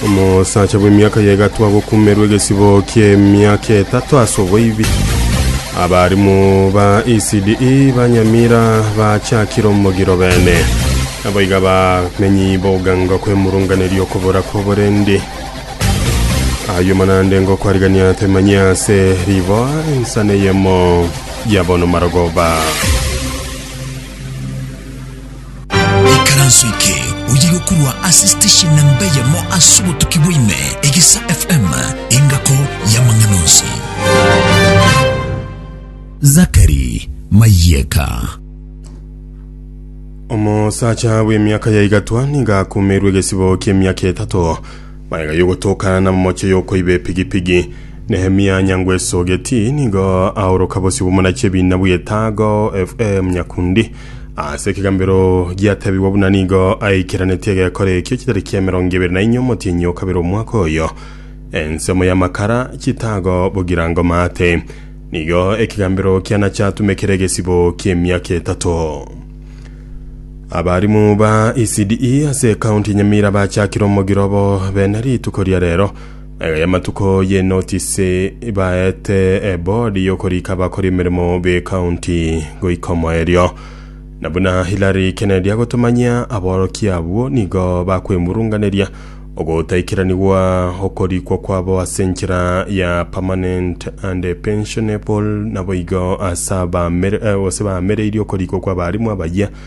Omosacha bw'emiaka ya egatwa agokumerwa egesibo ki'emiaka etato ase oboibi. Abarimu ba ECDE ba Nyamira bachakire omogiro bene. Naboigo abamenyi b'oganga kwemurunganeria okobora kw'oborendi. Ayio manande ngokwarigania temanyie ase riboa ensana eyemo ya bono marogoba. Ikaranso eke oye gokorwa ase station namba eyemo ase obotuki bwa ime, Egesa FM, engako y'amang'ana onsi. Zachary Mayeka. Omosacha bw'emiaka ya igatwa nigo akumerwe egesibo ki'emiaka etato magega y'ogotokana namomoche y'okoiba epigipigi. Nehemia Nyangweso Getii nigo aoroka bosio bw'omonachi ebina bw'Etago FM Nyakundi Ase ekegambero giatebigwa buna nigo aikeranetie egekora ekio chitariki 24 omotienyi o kabere omwaka oyo, ensemo y'amakara, chitago, bogirango maate. Nigo ekegambero kiana chiatumekire egesibo ki'emiaka etato. Abarimu ba ECDE ase ekaunti ya Nyamira bachakire omogiro obo bene rituko ria rero. Magega y'amatuko y'enotisi baete ebodi y'okorika abakori emeremo b'ekaunti goika omoerio. Na buna Hillary Kennedy agotomanyia, aborokia abwo nigo bakwemurunganeria ogotaikeranigwa okorikwa kwabo ase enchera ya permanent and pensionable naboigo ase abamere gose baamereirie okorikwa kw'abarimu abayia.